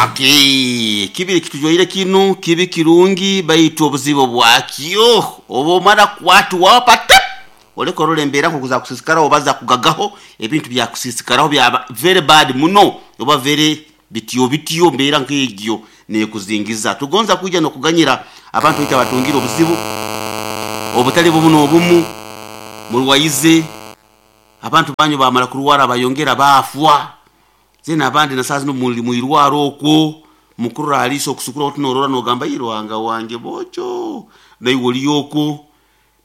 Okay, kibiri kitujwaire kinu kibi kirungi baitu obuzibu bwakyo oba omara kukwatwaho pata oleka orora embeera nkoku zakusiisikaraho oba zakugagaho ebintu byakusiisikaraho byaba very bad muno oba very bityo bityo embeera nk'egyo nekuzingiza. Tugonza kwija n'okuganyira abantu baitu abatungire obuzibu obutali bumu n'obumu murwaize abantu banyu bamara kurwara bayongera baafwa zena abandi na saaha zinu muli mwirwaro okwo mukurora ha liiso okusukura oti norora nogamba "Ii, Ruhanga wange boojo naiwe oli okwo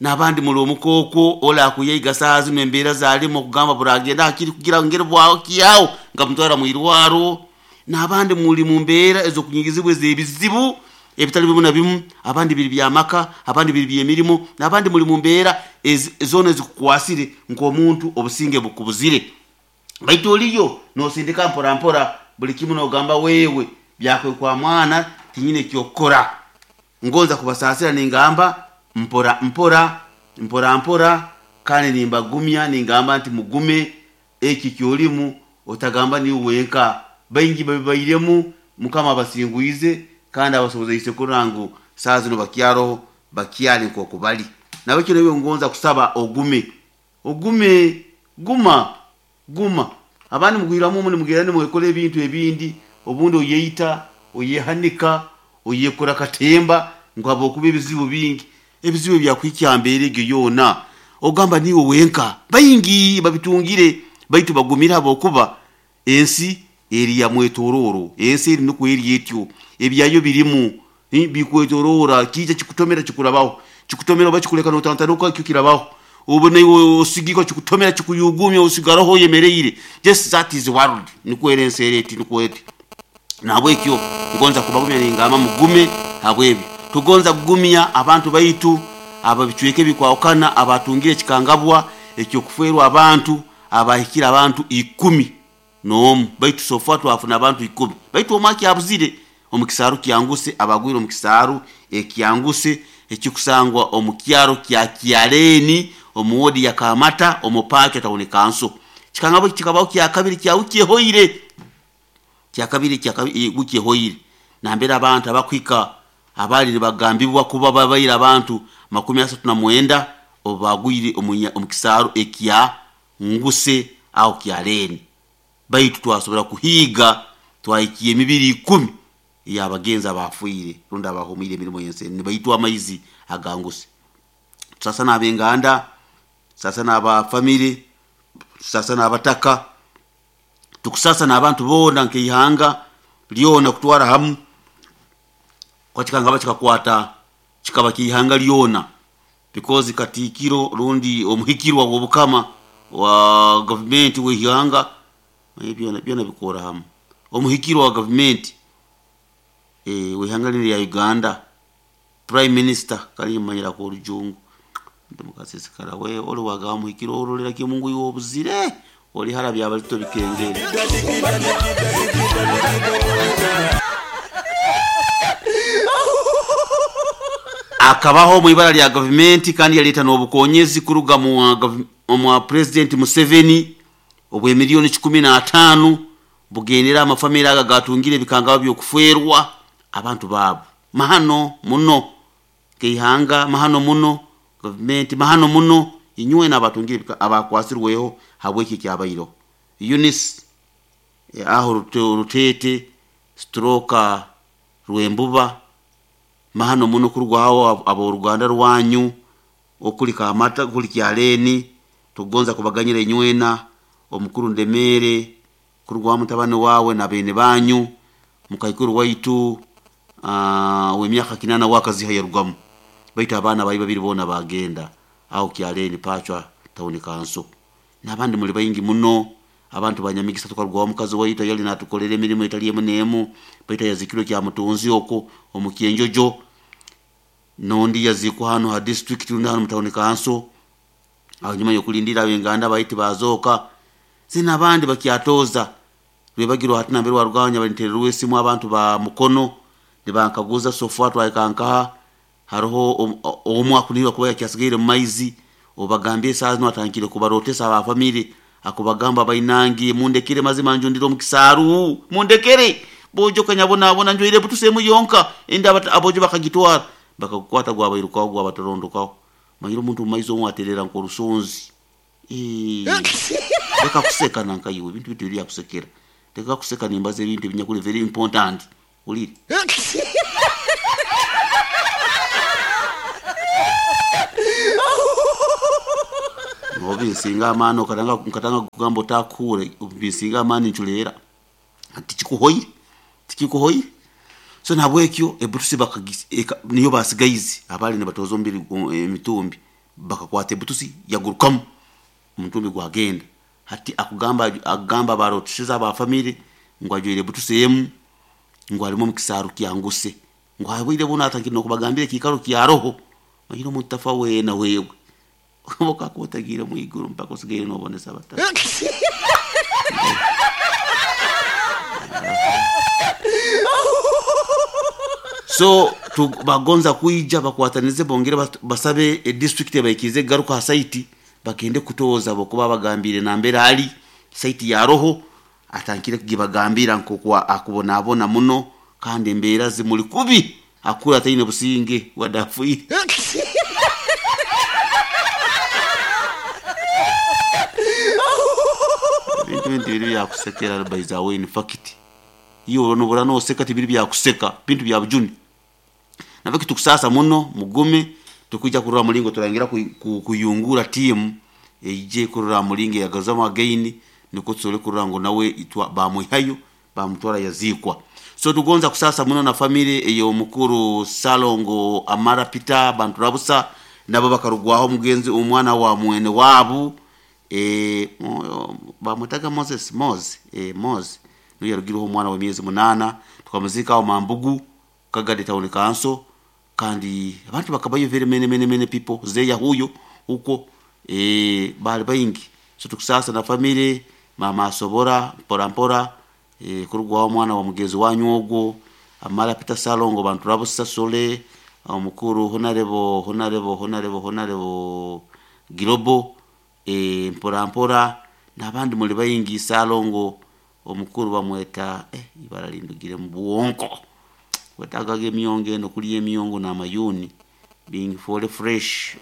n'abandi muli omuka okwo ole akuyeiga saaha zinu embeera zalimu okugamba buragenda hakiri kugira ngeri bwakyaho nga mutwara mwirwaro n'abandi muli mu mbeera ez'okunyigizibwa ez'ebizibu ebitali bimu na bimu abandi biri by'amaka abandi biri by'emirimo n'abandi muli mu mbeera zoona ezikukwasire nk'omuntu obusinge bukubuzire baitu oliyo nosindika mpora mpora buli kimu nogamba wewe byakwekwa mwana tinyine ekyokukora ngonza kubasaasira ningamba mpora mpora mpora mpora kandi nimbagumya ningamba nti mugume eki kyolimu otagamba niwe wenka baingi babibairemu mukama abasingwize kandi abasobozeise kurora ngu saaha zinu bakyaroho bakyali nk'oku bali nabekyo naiwe ngonza kusaba ogume ogume guma guma abandi mugwiramu omu nimugenda nimwekora ebintu ebindi obundi oyeita oyehanika oyekora katemba ngu habwokuba ebizibu bingi ebizibu ebyakuhikya ha mbeera egyo yoona ogamba niiwe wenka baingi babitungire baitu bagumire habwokuba ensi eri ya mwetorooro ensi eri nikwo eri etyo ebyayo birimu bikwetoroora kiija kikutomera kikurabaho kikutomera oba kikuleka notantanuka kyo kirabaho obu naiwe osigika kikutomera kikuyugumya osigaraho oyemereire just that is the world nikwo eri ensi eri eti nikwo eti nahabwekyo ngonza kubagumya ningamba mugume habwebyo tugonza kugumya abantu baitu ab'ebicweka ebikwahukana abatungire ekikangabwa eky'okufeerwa abantu abahikire abantu ikumi n'omu baitu so far twafuna abantu ikumi baitu omu akyabuzire omu kisaaru kyanguse abagwire omu kisaaru ekyanguse ekikusangwa omu kyaro kya Kyaleeni omu woodi ya Kamata omu Paakyo Town Council. Kikangabwa eki kikabaho kyakabiri kya wiiki ehoire kyakabiri wiki ehoire nambere abantu abakuhika abaali nibagambibwa kuba babaire abantu 39 obu bagwire omu kisaaru ekya Nguse aho Kyaleeni baitu twasobora kuhiiga twahikya emibiri 10 ey'abagenzi abaafiire rundi abahuumwire emirimo y'ensi enu nibaitwa amaizi aga Nguse. Tusaasa n'ab'enganda, tusaasa n'aba famire, tusaasa n'abataka, tukusaasa n'abantu boona nk'ihanga lyona kutwara hamu kuba kikangaba kikakwata kikaba ky'ihanga lyona because katiikiro rundi omuhikirwa w'obukama wa gavumenti w'ihanga byona byona bikora hamu omuhikirwa wa gavumenti w'ihanga linu erya Uganda prime minister kale manyira orujungu mukasiisikara we oli wagamba muhikirwa orolera kimu ngu iwe obuzire oli hara byabalito bikengere. Akabaho omu ibara lya gavumenti kandi yaleeta n'obukonyezi kuruga omwa Purezidenti Museveni obw'emiliyoni 15 bugendera amafamire ago agatungire ebikangabwa by'okufeerwa abantu baabo. Mahano muno nk'ihanga, mahano muno gavumenti, mahano muno inywena abatungire abakwasirweho habw'eki ekyabaireho. Eunice aho Ruteete stroke Rwembuba mahano muno kurugaho ab'oruganda rwanyu okuli Kamata okuli Kyaleeni tukugonza kubaganyira inywena omukuru Ndemeere kurugaho mutabani waawe na beene banyu mukaikuru waitu ow'emyaka 8 we akaziha yarugamu baitu abaana bali babiri boona baagenda aho Kyaleeni Pachwa Town Council n'abandi muli baingi muno abantu ba Nyamigisa tukarugaho omukazi waitu yali naatukolera emirimo etali emu n'emu baitu yazikirwe Kyamutunzi okwo omu Kyenjojo n'ondi yaziikwa hanu ha district rundi hanu mu town council hanyuma y'okulindirra ab'enganda baitu bazooka zina abandi bakyatooza rwebagiro hati nambere warugaho nyabantererwa esimu abantu ba Mukono nibankaguza so far twahika nkaha haroho omu akunihirwa kuba yakyasigaire mu maizi obagambire saaha zinu atandikire kubarootesa aba famire akubagamba bainange mundekere mazima njundire omu kisaaru mundekere Bojo kanyabonabona njwaire butusemu yonka enda abojo bakagitwara bakakukwata gwabairukaho gwabatarondokaho manyire omuntu mumaiso omwe aterera nk'orusonzi. Leka kuseka nankaiwe ebintu bitu biri byakusekera, leka kuseka nimbaza ebintu ebinyakuli very important hulire. Nobinsinga amaani okatanga nkatanga kugamba otakuhurra, obinsinga amaani nculeera, tikikuhoire tikikuhoire. So nahabwekyo ebutusi niyo basigaize abaali nibatooza omubiri emitumbi bakakwata ebutusi yagurukamu omutumbi gwagenda. Hati akugamba akugamba abarootisize aba family ngu ajwaire ebutusi emu ngu arimu omu kisaaru kya Nguse, ngu habwire bunu atandikire n'okubagambira ekiikaro kyaroho, manyire omuntu tafa weena wewe obu okakuba otagiire mwiguru mpaka osigaire nobonesa abataka. So bagonza kwija bakwatanize bongere basabe edistrict ebaikirize kugaruka ha site bagende kutooza habwokuba abagambiire nambere ali site yaroho atandikire kugibagambira nk'oku akubonabona muno kandi embeera zimuli kubi akura ataine businge wadde afiire. Ebintu binu tibiri byakusekera by the way in fact iwe nobura noseka tibiri byakuseka bintu bya bujune. Nabweki tukusaasa muno mugume tukwija kurora mulingo turayongera kuyungura tiimu eije kurora mulingo eyagaruzamu again nukwo tusobole kurora ngu nawe bamwihayo bamutwara yaziikwa. So tugonza kusaasa muno na family ey'omukuru Ssalongo Amara Peter Banturabusa nabo bakarugwaho omugenzi omwana wa mwene waabu bamwetaga Moses Mose Mose niwe yarugireho omwana w'emyezi 8 tukamuziika aho Mambugu Kagadi Town Council kandi abantu bakabayo very many many many people zeya huyo huko bali baingi. So tukusaasa na family mama asobora mpora mpora kurugwaho omwana wa mugenzi wanyu ogwo Amara Peter Ssalongo Banturabusa Sole omukuru Honarebo Honarebo Honarebo Honarebo Girobo mpora mpora n'abandi muli baingi Ssalongo omukuru bamweta ibara lindugire mu bwonko wetagaga emyongo eno kulya emyongo n'amayuni bingifoole fresh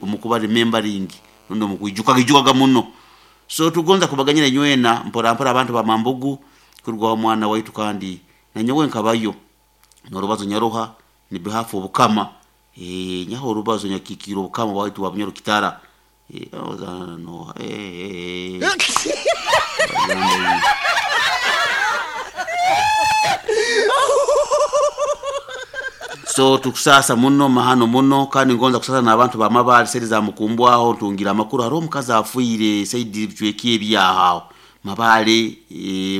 omukuba remembering rundi omukwijukaga muno. So tugonza kubaganyira inywena mpora mpora abantu ba Mambugu kurugwaho omwana waitu kandi nanyowe nkabayo n'orubazo nyaruha ni behalf obukama nyaho orubazo nyakikiire obukama bwaitu bwa Bunyoro Kitara So tukusaasa muno mahano muno kandi ngonza kusaasa n'abantu ba Mabaale saidi za Mukumbwaho ntungire amakuru hariho omukazi afiire saidi ebicweka ebyaho aho Mabaale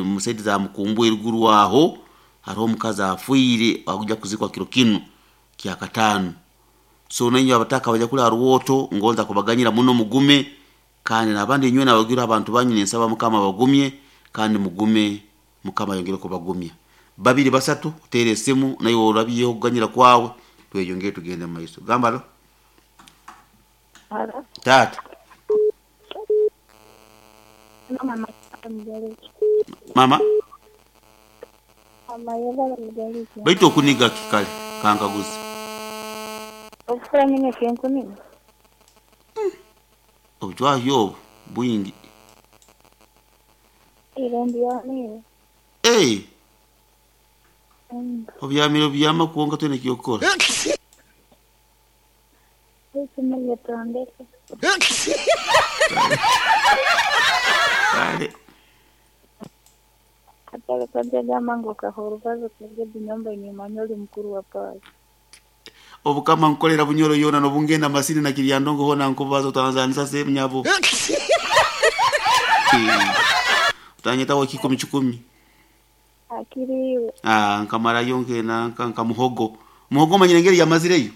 mu saidi za Mukumbwa eruguru aho hariho omukazi afiire akuja kuzikwa kiro kinu kyakataano. So nainywe abataka abanyakuli ha Ruwoto ngonza kubaganyira muno mugume kandi n'abandi inywena abagwire abantu banyu ninsaba Mukama abagumye kandi mugume Mukama ayongere kubagumya. 2 3 oteere esimu naiwe orabyeho okuganyira kwawe tweyongere tugende mu maiso. Gamba alo. Alo. Taata. Mama. Mama. Mama yebale mugaliki. Baitu okuniga ki kale kankaguze. Okufura nyine kenkunini. Obujwahi obu bwingi. Irembi yamire. Obyamire obyama kwonka toine ekyokukora. Ekimuyetondeke. Kale. Atale kwajagamba ngu okaha orubazo kugeda enyumba nimanya oli mukuru wa paasi. Obukama nkukolera Bunyoro yoona nobungenda Masini na Kiryandongo hoona nkubaza otanzanisa sehemu nyabo. Otanyetaho 10 10. Akiriiwe. Nkamarayo nkena nka muhogo. Muhogo omanyire engeri yamazireyo?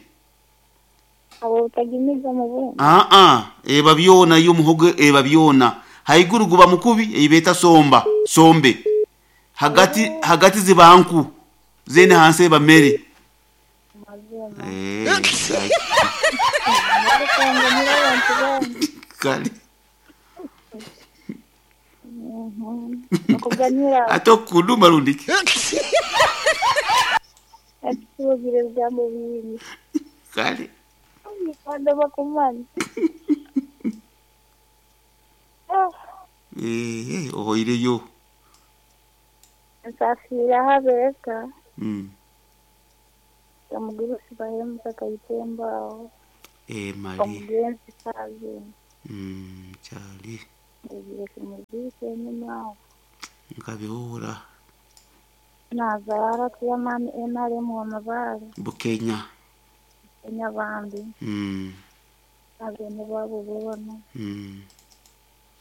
Abo otagimiza mu bundi. Eba byona yo muhogo eba byona. Haiguru guba mukubi eibeeta somba, sombe. Hagati hagati ziba nku zene hansi eba mere. Mazima. Kale. Okuganyira Ate okukuduma rundiki. Atugira ebigambo bingi. Kale. Kandi bakumanya. Ah, Eh, ohoireyo. Nsafiira habeeka omugurusi bahemuka kayitemba aho Eh, mali. omugenzi kazi Kyali. ebiire kumuziika enyuma aho. Nkabihura. Nazaara chairman NRM wa Mabaale Bukenya. Enyabambi n'abeene baabo boona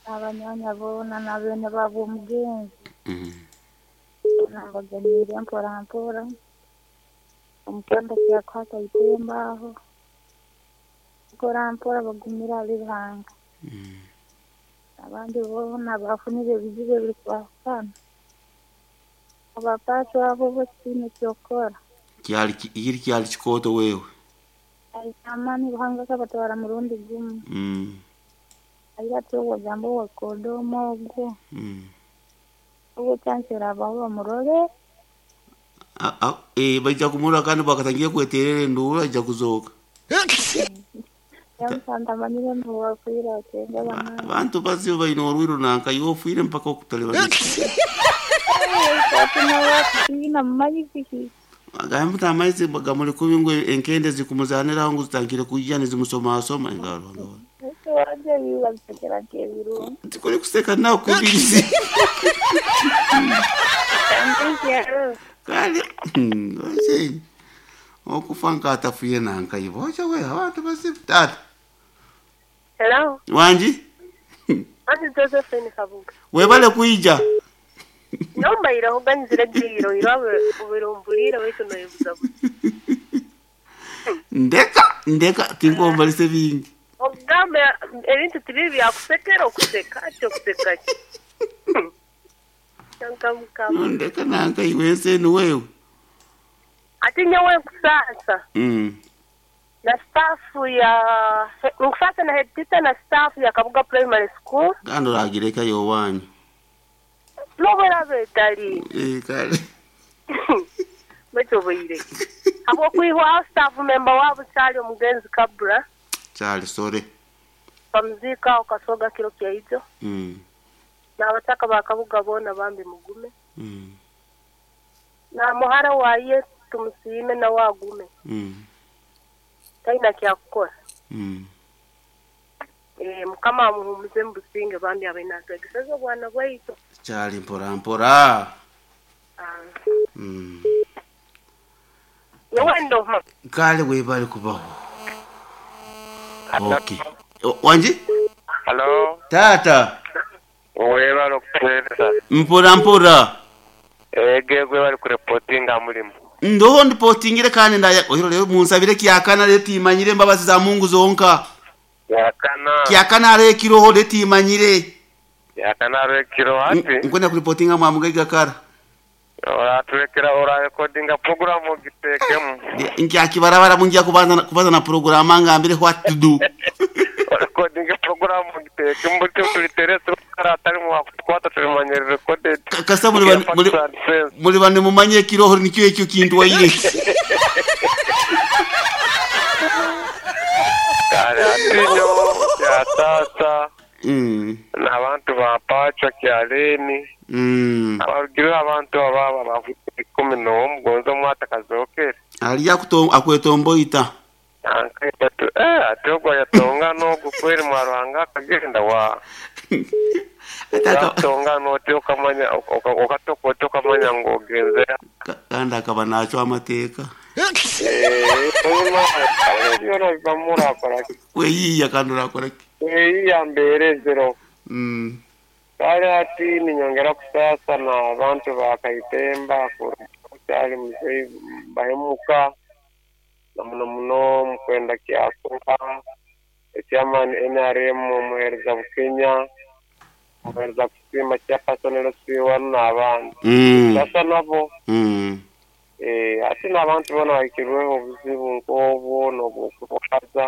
n'abanyanya boona n'abeene baabo omugenzi nambaganiire mpora mpora omukwenda kyakuhata itemba aho mpora mpora bagumire ahari Ruhanga. Abandi boona bafunire ebizibu ebirikwahukana abapaasi abo bo tibaine ky'okukora. Kyali iri kyali kikooto wewe. Amaani Ruhanga akabatwara murundi gumu. Agira ati ogamba owakodoma ogwo ogwo kyansera abaho bamurore. Eh, baija kumurora kandi bakatangiye kweterera enduru aija kuzooka. Yamusanga amanyire ngu wafiire akenga bamani. Abantu bazibu baine orwiro nanka iwe ofiire mpaka okutalibaniza. Ati mumanyi Agamba nti amaizi gamuli kubi ngu enkende zikumuzaniraho ngu zitangire kujja nizimusomasoma engaro. Wajja bibabisekera nk'ebirungi. Tikuri kuseka nawe kubirizi. Kale oche okufa nkatafuye nanka iwe oche we abantu bazibu tata. Hello, Wanji Auntie Josephine Kabuga. webale kuija. Nombaire oganizire giro irawe ubirumbulire waitu noyebuzabuza. Ndeka ndeka tinkombalise bingi. Ogamba ebintu tibibi byakusekera okuseka ati okuseka ki? Kyanka mukama. Ndeka nanka iwe ensi enu wewe. Ati nyowe nkusaasa na staff ya nkusaasa na head teacher na staff ya Kabuga Primary School. Kandi oragireka yowanyu. Nobera betali. Eh, kale. Betoboire. Habwokwihwaho staff member wabo kyali omugenzi Kabura. Kyali sore. Bamuziika okasoga kiro kyaijo. N'abataka ba Kabuga boona bambi mugume. Na muhara waye tumusiime nawe agume. Talina kyakukora. Eh, Mukama amuhumuze mu businge bambi abe natwegeseza obwana bwaitu. Kyali mpora mpora. Ah. Nyowe ndoma. Kale webale kubaho. Okay. Wanji? Hello, Tata. webale okutuweereza. Mpora mpora. Ege gwe bali kurepotinga mulimu. Ndoho ndipotingire kandi ndaya ohiro lero munsabire kyakana letimanyire embabazi za Mungu zonka. Yakana. Kyakana arekiroho letimanyire. Yakana arwekiro ati. Nkwenda kuripotinga mwamugaiga kara. Oratulekera orarekodinga programu ogitekemu. Nkyakibarabara munjia kubanza kubanza na programa ngambire what to do. Orarekodinga programu ogitekemu buti tulitere turukara atali mu wakutukwata tulimanyire recorded. Kasa muri muri muri bane mumanye kiroho nikyo ekyo kintu waire. Kale atinyo ya tata. N'abantu bapacha kyaleni. Abagira abantu ababa bafite 11 gonzo mwata kazokere. Ali akwetomboita. Ankaitatu atogwa yatonga no gukweri mwarwanga akagenda wa. Atonga no okamanya okatoko okamanya ngo genzera. Kandi akaba nacho amateka. Weyiya kandi urakora ki? Weyiya mbere zero. Kale ati ninyongera kusasa na abantu bakaitemba kukyali mzee bahemuka na muno muno mukwenda kyakora chairman NRM muhereza Bukenya muhereza kusima chairperson LC1 n'abandi. Sasa nabo Ate n'abantu boona bahikirweho obuzibu nk'obwo n'obwokurwaza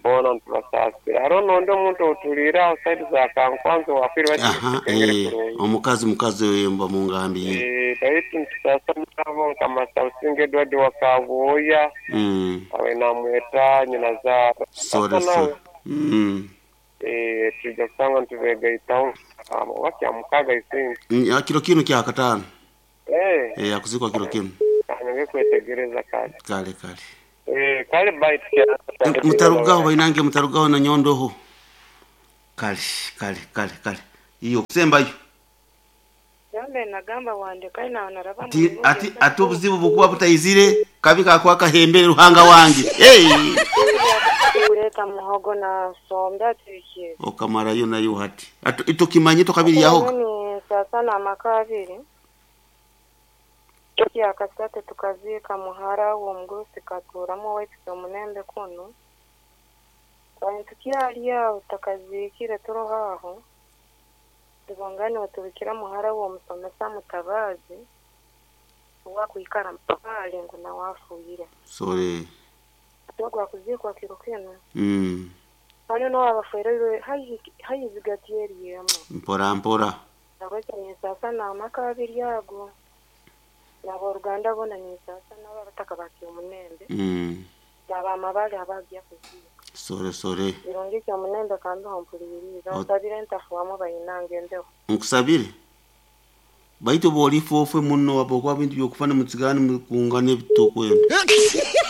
boona nitubasaasira. Hariho n'ondi omuntu outuliire aho saidi za Kankwanzi owafiire Aha, bakitegere eh, kurungi. omukazi mukazi oyo mba mungambiire. Baitu nitusaasa nabo nka Masabusinga Edward wa Kabwoya awe namweta nyina zaara. Sore Sasa sore. nawe tujja kusanga nitubegaitaho oba kyamukaaga isinzi. Kiro kinu kya katano. Akuzikwa kiro kinu. Kanyonge kwetegereza kale. Kale kale. Kale baitu Mutarugaho bainange, mutarugaho na nyondoho. Kale kale kale kale. Iyo kusembayo. Yambe nagamba wandeka ina naraba Ati ati ati obuzibu bukuba butaizire kabi kakwa kahembere ruhanga wange. Hey! Kuleta muhogo na sombe atikiye. Okamarayo nayo hati. Ati itukimanye tukabiri yaho. Ni sasa na amaka abiri. Yakasate tukaziika muhara w'omugurusi katuramu owaitu omunembe kunu. Abantu kyali aho tutakaziikire turoho aho. Tubongane batubikira muhara w'omusomesa Mutabazi owakwikara mpale ngu nawe afuire. Sore. Gwakuziikwa kiro kinu. Hano nawe abafereirwe haihi zigati eryemu. Mpora mpora. Nahabwekyo ninsasa n'amaka abiri ago. N'aboruganda boona ninsasa nabo abataka ba Kyomunembe. N'abamabare abagya kuziika. Sore sore. Birungi Kyomunembe kambeho mpuliriza. Nsabire ntafuamu bayinange embeho. Nkusabire. Baitu bw'olifa ofwe muno wabokuba bintu byokufana mutsigane mukungana ebitokwenda.